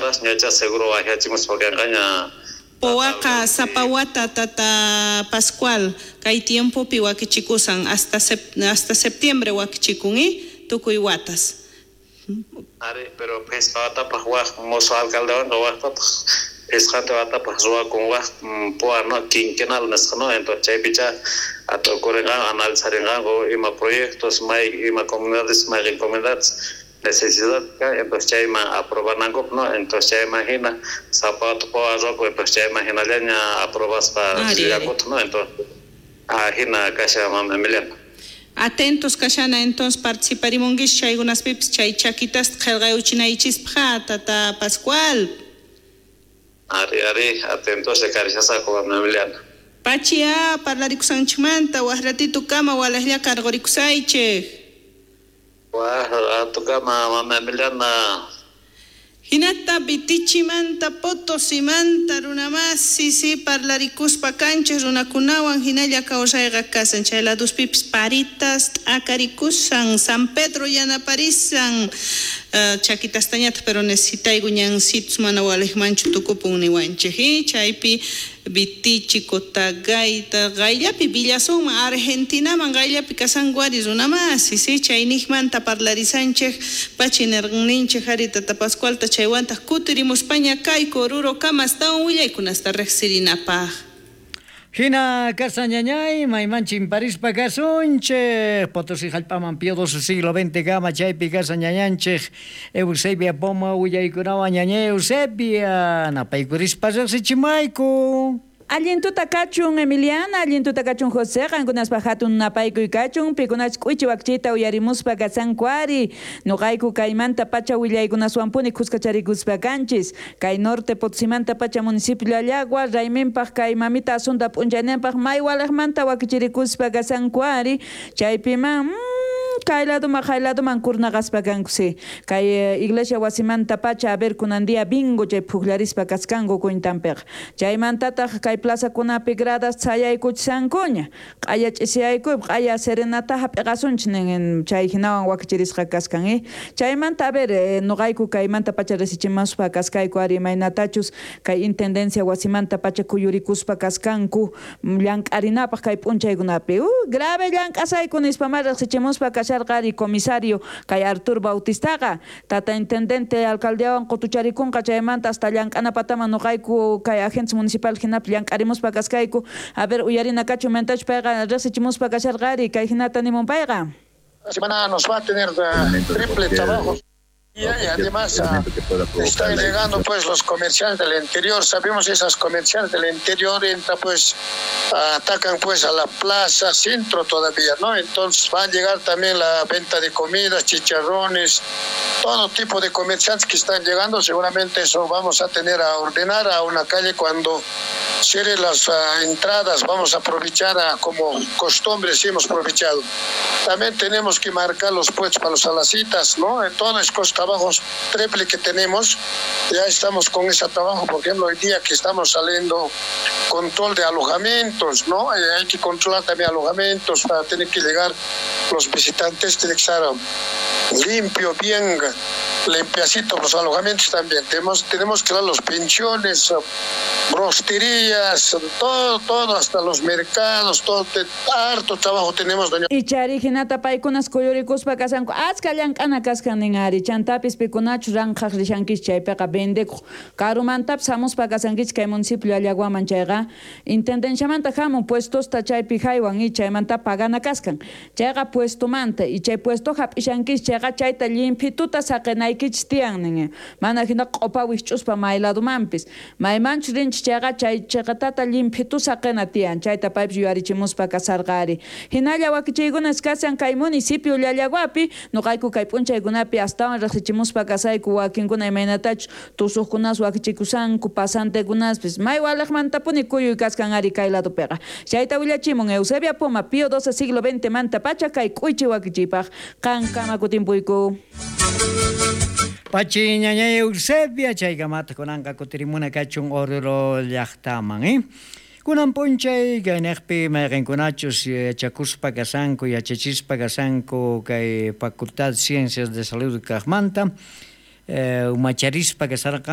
Caras ñacha seguro wajachimuspa kanqaña. Powaqa sapa wata tata Pascual kay tiempopi wakichikusan hasta septiembre wakichikun tukuy watas. Ari, pero phisqa watapaq waj mozo alcaldewanqa wajtataq phisqanta watapaq ruwakun waj poa no quinquenal nisqa no, entonces chaypicha atukurinqanku analizarinqanku ima proyectos may ima comunidades mayqin comunidades necesidad entonces chayman aprobanankupaq no, entonces chayman hina sapa wata poa ruwakun, entonces chayman hinallaña aprobaspa rillankutaj no, entonces hina kashan mama Emiliana. Atentos kashana entonces participarimunkichis chaykunaspipis chay chakitasta qillqayuchinaychispaq tata Pascual. Ari, ari, atentos karishasaqku mama Emiliana. Pachia parlarikusanchikmanta waj ratito kama walajlla karqurikusaychik. Waj rato kama mama Emiliana. Hinata Vitichimanta Potosimanta runamasi si parlarikuspa kanchis runakunawan hinalla kawsayqa kasan chay laduspipis paritas t'akarikusan San Pedro yanaparisan chakitastañataq pero necesitayku ñansitus mana waliqmanchu tukupun niwanchik chaypi Vitichi Cotagaita qayllapi Villasunman Argentinaman qayllapi kasanku ari runamasi si chayniqmanta parlarisanchik pachi nirqanninchik ari tata Pascualta chaywantaq kutirimuspaña kayku Oruro kama astawan willaykunasta riqsirinapaq. Hina kasañañay, maymanchin parispa kasunchik, Potosí jallp'aman Pío XII siglo XX kama chaypi kasañañanchik, Eusebia Poma willaykunawan ñañay Eusebia, napaykurispa riqsichimayku. Allintuta kachun Emiliana, allintuta kachun José, qankunaspa hatun napaykuy kachun, pikunach k'uichi wakchita uyarimuspa kasanku ari, nuqayku kaymanta pacha willaykunaswanpuni khuskacharikuspa kanchis, kay norte Potosimanta pacha municipio Llallagua, rayminpaq kay mamita Asunta p'unchayninpaq may waliqmanta wakichirikuspa kasanku ari, chaypiman kay laduman kay laduman kurnaqaspa kanku si, kay iglesia wasimanta pacha a ver kunan día bingo chay pukllarispa kaskanku cuentanpiqa, chaymantataq kay plazakunapi gradas chayaykuchisankuña, q'aya ch'isiyaykupi q'aya serenata hap'iqasunchik nin chay hinawan wakichirisqa kaskan chaymanta a ver nuqayku kaymanta pacha risichimuspa kaskayku ari imaynatachus kay intendencia wasimanta pacha kuyurikuspa kaskanku llank'arinapaq kay p'unchaykunapi grave llank'asayku nispa ma riqsichimuspa kasharqari comisario kay Artur Bautistaqa tata intendente alcaldeawan qutucharikunqa chaymanta hasta llank'anapataman nuqayku kay agentes municipal hinapi llank'arimuspa kaskayku a ver uyarina kachu mentach payqa riqsichimuspa kasharqari kay hinata nimun payqa. La semana nos va a tener triple trabajo. Y además están llegando pues los comerciantes del interior, sabemos esas comerciantes del interior entran pues, atacan pues a la plaza centro todavía, ¿no? Entonces va a llegar también la venta de comidas, chicharrones, todo tipo de comerciantes que están llegando, seguramente eso vamos a tener a ordenar a una calle cuando cierre las entradas, vamos a aprovechar como costumbre, sí hemos aprovechado. También tenemos que marcar los puestos para los alacitas, ¿no? En todas esas trabajos triple que tenemos, ya estamos con ese trabajo, por ejemplo, hoy día que estamos saliendo control de alojamientos, ¿no? Hay que controlar también alojamientos para tener que llegar los visitantes, tiene que estar limpio, bien limpiacito los alojamientos también. Tenemos que dar los pensiones, rosterías, todo, hasta los mercados, todo, harto trabajo tenemos, doña. Y chari hinata paykunas kuyurikuspa kasanku, achka llank'ana kaskan nin ari, chantapis pikunachu ranqhaq rishankichik chaypiqa vendekuq karumantapis hamuspa kasankichik kay municipio Llallaguaman chayqa intendenciamanta hamun puestosta chaypi haywan y chaymanta pagana kaskan chayqa puestomanta y chay puesto hap'ishankichik chayqa chayta llimpituta saqinaykichik tiyan nin mana hina q'upa wikch'uspa may ladumanpis maymanchu rinchik chayqa chay chiqatata llimphitu saqina tiyan chayta paypis yuyarichimuspa kasarqa ari hinalla wakichiykunas kasan kay municipio Llallaguapi nuqayku kay p'unchaykunapi astawan riqsichimuspa kasayku wakinkuna imaynatachus tusuqkunas wakichikusanku pasantekunaspis may waliqmantapuni kuyuy kaskan ari kay ladupiqa chayta willachimun Eusebia Poma Pío XII siglo XX manta pacha kay k'uychi wakichiypaq qankama kutimpuyku. Pachi ñañay Eusebia chaykamata kunanqa kutirimuna kachun Oruro llaqtaman Kunan p'unchay kayniqpi mayqinkunachus yachakuspa kasanku yachachispa kasanku kay Facultad Ciencias de Salud kaqmanta umacharispa kasarqanku.